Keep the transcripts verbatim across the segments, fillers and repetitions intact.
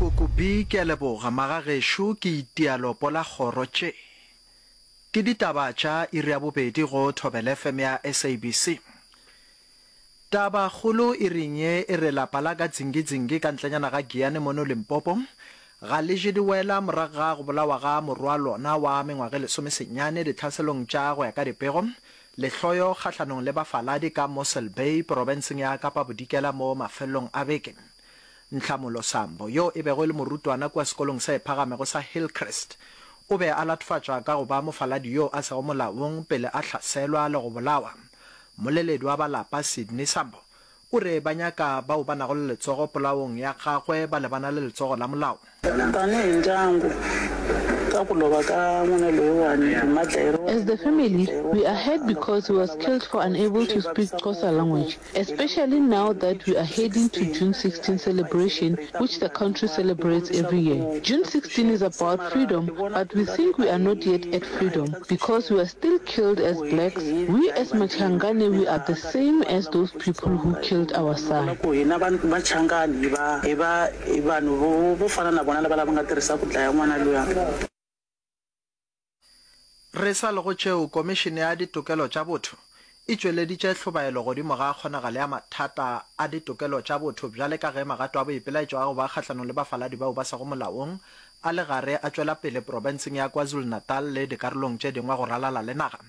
Koko B, Ke a leboga, magagešo, ke itia lopo la kgoro tše. Ke ditaba tša iri ya bobedi go Thobela F M ya S A B C. Tabakgolo iring ye e re lapa la ka Dzingidzingi ka ntlenyana ga Giyani mono Limpopo ga le je diwela morago ga go bolawa ga morwa lona wa mengwaga e lesomesenyane ditlhaselong tša go ya ka dipego lehloyo kgahlanong le bafaladi ka Mossel Bay porofenseng ya Kapa Bodikela mo mafelelong a beke. Nhlamulo Sambo, yo e bego e le morutwana kua sekolong se phagamego sa Hillcrest, o be a latofatšwa ka go ba mofaladi yo a sego molaong pele a hlaselwa le go bolawa. Mmoleledi wa ba lapa Sydney Sambo o re ba nyaka bao ba nago le letsogo polaong ya gagwe ba lebana le letsogo la molao. Tanihi ndyangu, ka ku lova ka n'wana loyiwani hi madlayeriwa As the family, we are hurt because he was killed for unable to speak Xhosa language, especially now that we are heading to June sixteen celebration, which the country celebrates every year. June sixteen is about freedom, but we think we are not yet at freedom because we are still killed as blacks. We as Machangane, we are the same as those people who killed our son. Ku hina Machangani hi va hi va hi vanhu vo vo fana na vona lava lava nga tirhisa ku dlaya n'wana luya. Re sa le go tšeo, Komišene ya Ditokelo tša Botho e tšweleditše hlobaelo godimo ga kgonagalo ya mathata a ditokelo tša botho bjale ka ge magato a boipelaetšo a go ba kgahlanong le bafaladi bao ba sego molaong a le gare a tšwela pele profenseng ya KwaZulu-Natal le dikarolong tše dingwe go ralala le naga.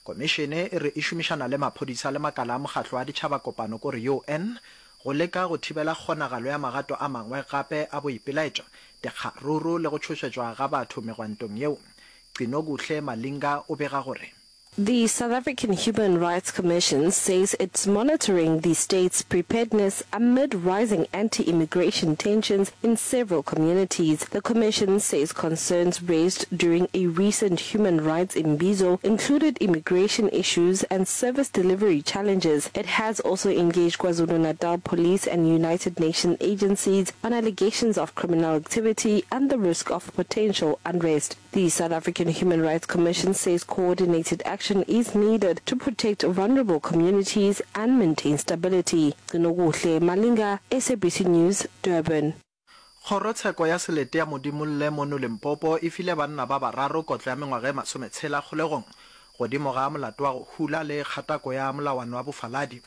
Komišene e re e šomišana le maphodisa le makala a mokgatlo wa Ditšhabakopano kore U N go leka go thibela kgonagalo ya magato a mangwe gape a boipelaetšo, dikgaruru le go tšhošetšwa ga batho megwantong yeo. Gcinokuhle Malinga o bega gore. The South African Human Rights Commission says it's monitoring the state's preparedness amid rising anti-immigration tensions in several communities. The commission says concerns raised during a recent human rights imbizo included immigration issues and service delivery challenges. It has also engaged KwaZulu-Natal police and United Nations agencies on allegations of criminal activity and the risk of potential unrest. The South African Human Rights Commission says coordinated action is needed to protect vulnerable communities and maintain stability. Gcinokuhle Malinga, S A B C News, Durban. Kgorotsheko ya Selete ya Modimolle mono Limpopo e file banna ba bararo kotlo ya mengwaga e masometshela kgolegong godimo ga molato wa go hula le kgatako ya molawana wa bofaladi.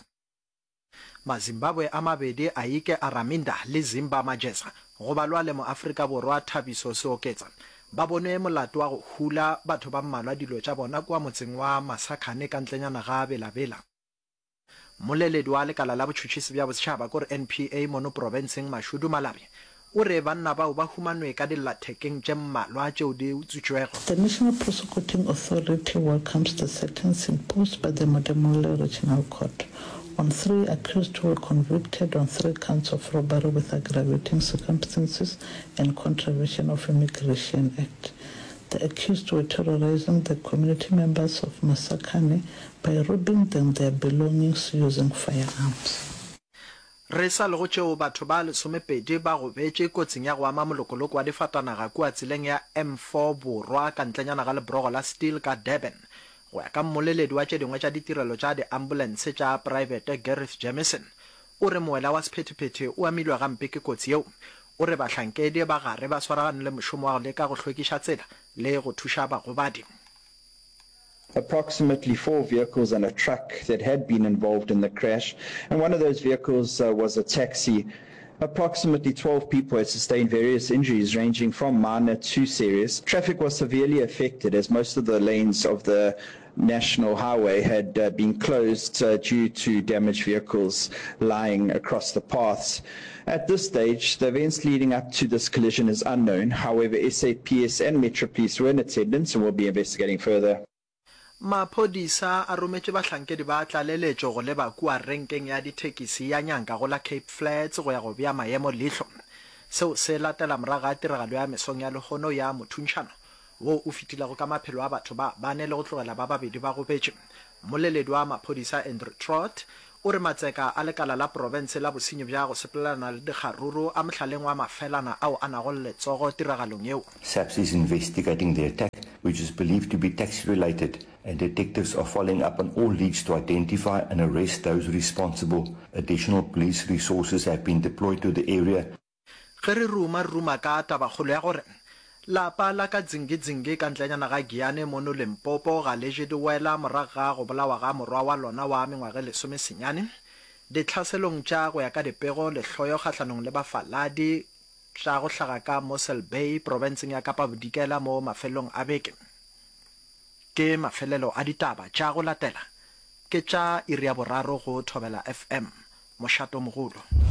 Mazimbabwe a mabedi Aike Araminda le Zimba Majeza go balwa le Moafrika Borwa Thabiso Seoketsa ba bonwe molato wa go hula batho ba mmalwa dilo tša bona kua motseng wa Masakhane ka ntlenyana ga Bela-Bela. Mmoleledi wa lekala la botšhotšhisi bja bosetšhaba kore N P A mono profenseng Mashudu Malabi o re banna bao ba humanwe ka dillathekeng tše mmalwa tšeo di utswitšwego. The National Prosecuting Authority welcomes the sentence imposed by the Modimolle Regional Court on three accused who were convicted on three counts of robbery with aggravating circumstances and contravention of Immigration Act. The accused were terrorizing the community members of Masakhane by robbing them their belongings using firearms. Re sa le go tšeo, batho ba lesomepedi ba gobetše kotsing ya go ama molokoloko wa difatanaga kua tseleng ya M four Borwa ka ntlenyana ga lebrogo la Steel ka Durban. Go ya ka mmoleledi wa tše dingwe tša ditirelo tša diambulense tša praebete Gareth Jamieson, o re moela wa sephethephethe o amilwe gampe ke kotsi yeo. O re bahlankedi ba gare ba swaragane le mošomo wa go leka go hlwekiša tsela le go thuša bagobadi. Approximately four vehicles and a truck that had been involved in the crash, and one of those vehicles, uh, was a taxi. Approximately twelve people had sustained various injuries ranging from minor to serious. Traffic was severely affected as most of the lanes of the national highway had, uh, been closed, uh, due to damaged vehicles lying across the paths. At this stage, the events leading up to this collision is unknown. However, S A P S and Metro Police were in attendance and will be investigating further. Maphodisa a rometše bahlankedi ba tlaleletšo go leba kua renkeng ya dithekisi ya Nyanka go la Cape Flats go ya go bea maemo leihlo. Seo se latela morago ga tiragalo ya mesong ya lehono ya mothuntšhano wo o fetilego ka maphelo a batho ba bane le go tlogela ba babedi ba gobetše. Mmoleledi wa maphodisa Andrew Trott o re matseka a lekala la profense la bosenyi bja go sepelelana le dikgaruru a mohlaleng wa mafelana ao a nago le letsogo tiragalong yeo. S A P S is investigating the attack, which is believed to be taxi-related, and detectives are following up on all leads to identify and arrest those responsible. Additional police resources have been deployed to the area. Ge re ruma, re ruma ka tabakgolo ya gore lapa la ka Dzingidzingi ka ntlenyana ga Giyane mono Limpopo ga le je diwela morago ga go bolawa ga morwa wa lona wa mengwaga e lesomesenyane ditlhaselong tša go ya ka dipego lehloyo kgahlanong le bafaladi tša go hlaga ka Mossel Bay profenseng ya Kapa Bodikela mo mafelelong a beke. Ke mafelelo a ditaba tša go latela ke tša iri ya boraro go Thobela F M, mošatomogolo.